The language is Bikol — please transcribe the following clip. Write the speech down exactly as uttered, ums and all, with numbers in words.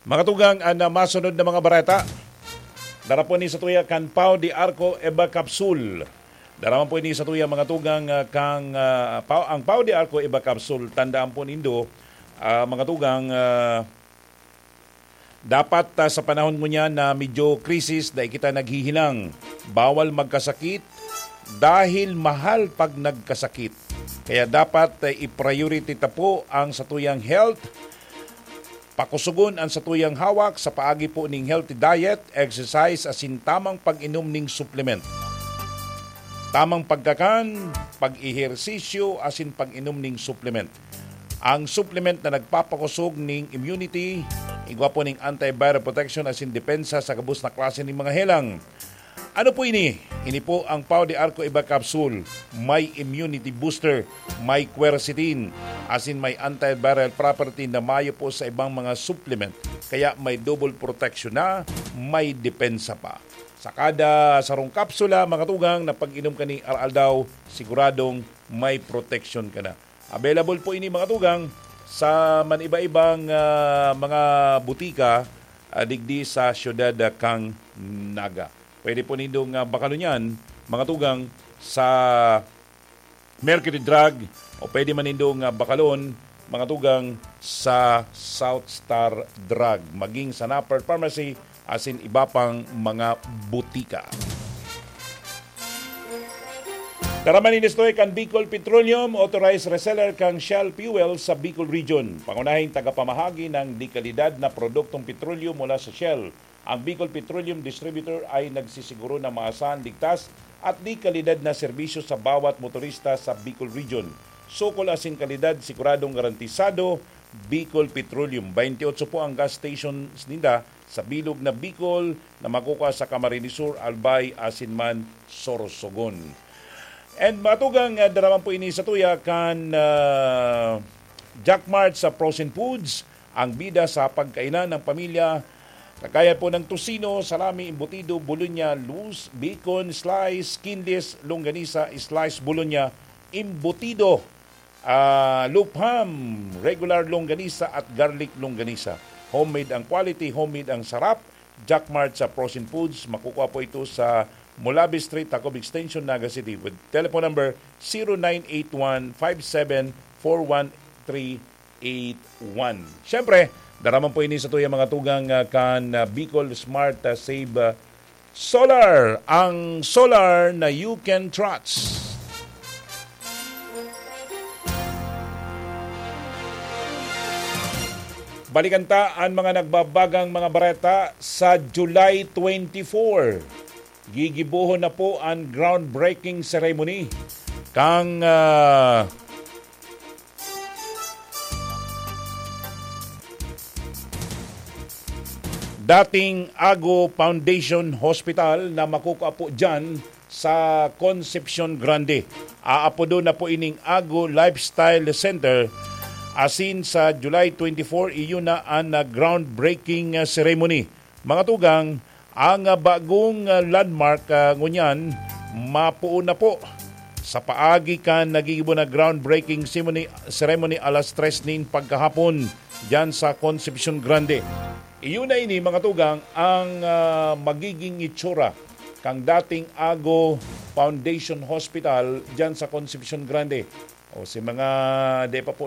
Mga tugang, an, ah, masunod na mga bareta. Dara po ni sa tuya kan Pau de Arco Eva Capsule. Dara man po ini sa tuya, mga tugang, ah, kang, ah, Pau, ang Pau de Arco Eva Capsule. Tandaan po nindo, ah, mga tugang, ah, dapat, ah, sa panahon ngunyan na medyo krisis, dai kita naghihilang. Bawal magkasakit dahil mahal pag nagkasakit. Kaya dapat, ah, i-priority ta po ang satuyang health. Pakusugon an satuyang hawak sa paagi po ning healthy diet, exercise asin tamang pag-inom ning supplement. Tamang pagkakan, pag-ehersisyo asin pag-inom ning supplement. Ang supplement na nagpapakusog ning immunity, igwa po ning antiviral protection asin depensa sa gabos na klase ning mga helang. Ano po ini? Ini po ang Pau de Arco Iba Capsule. May immunity booster, may quercetin, asin may antiviral property na mayo po sa ibang mga supplement. Kaya may double protection na, may depensa pa. Sa kada sarong kapsula, mga tugang, na pag-inom ka ni Aral daw, siguradong may protection ka na. Available po ini, mga tugang, sa maniba-ibang, ah, mga butika, ah, digdi sa siyudad, ah, kang Naga. Pwede po nindong, ah, bakalon yan, mga tugang, sa Mercury Drug, o pwede man nindong, ah, bakalon, mga tugang, sa South Star Drug, maging sa Napper Pharmacy, asin iba pang mga butika. Tara man, ini sa tuya kan Bicol Petroleum, authorized reseller kan Shell Fuel sa Bicol Region. Pangunahing tagapamahagi ng dekalidad na produktong petrolyo mula sa Shell. Ang Bicol Petroleum Distributor ay nagsisiguro na maasahan, ligtas at dekalidad na serbisyo sa bawat motorista sa Bicol Region. Sukol asin kalidad, siguradong garantisado, Bicol Petroleum. Twenty-eight po ang gas stations ninda sa bilog na Bicol na makukua sa Camarines Sur, Albay, asin man Sorsogon. And mga tugang, ah, dara man po ini sa tuya kan, ah, Jack Mart sa frozen foods, ang bida sa pagkainan ng pamilya. Kagaya po ng tocino, salami, embutido, bolonya, loose, bacon, slice, skinless, longganisa, slice bolonya, embutido, ah, loaf ham, regular longganisa at garlic longganisa. Homemade ang quality, homemade ang sarap. Jack Mart sa frozen foods, makukuha po ito sa Mulabi Street, Tacob Extension, Naga City, with telephone number zero nine eight one five seven four one three eight one. Siyempre, dara man po ini sa tuya, mga tugang, ah, kan, ah, Bicol Smart, ah, Save, ah, Solar, ang solar na you can trust. Balikan ta an mga nagbabagang mga bareta sa July twenty-four. Gigibohon na po an groundbreaking ceremony kang, ah, dating Ago Foundation Hospital na makukua po dyan sa Concepcion Grande. Aapodon na po ining Ago Lifestyle Center, asin sa July twenty-four, iyo na an, ah, groundbreaking, ah, ceremony. Mga tugang, ang, ah, bagong, ah, landmark, ah, ngunyan, mapoon na po. Sa paagi kan nagigibo na groundbreaking ceremony, ceremony alas tres nin pagkahapon, dyan sa Concepcion Grande. Iyo na ini, mga tugang, ang, ah, magiging itsura kang dating Ago Foundation Hospital dyan sa Concepcion Grande. O si mga di pa po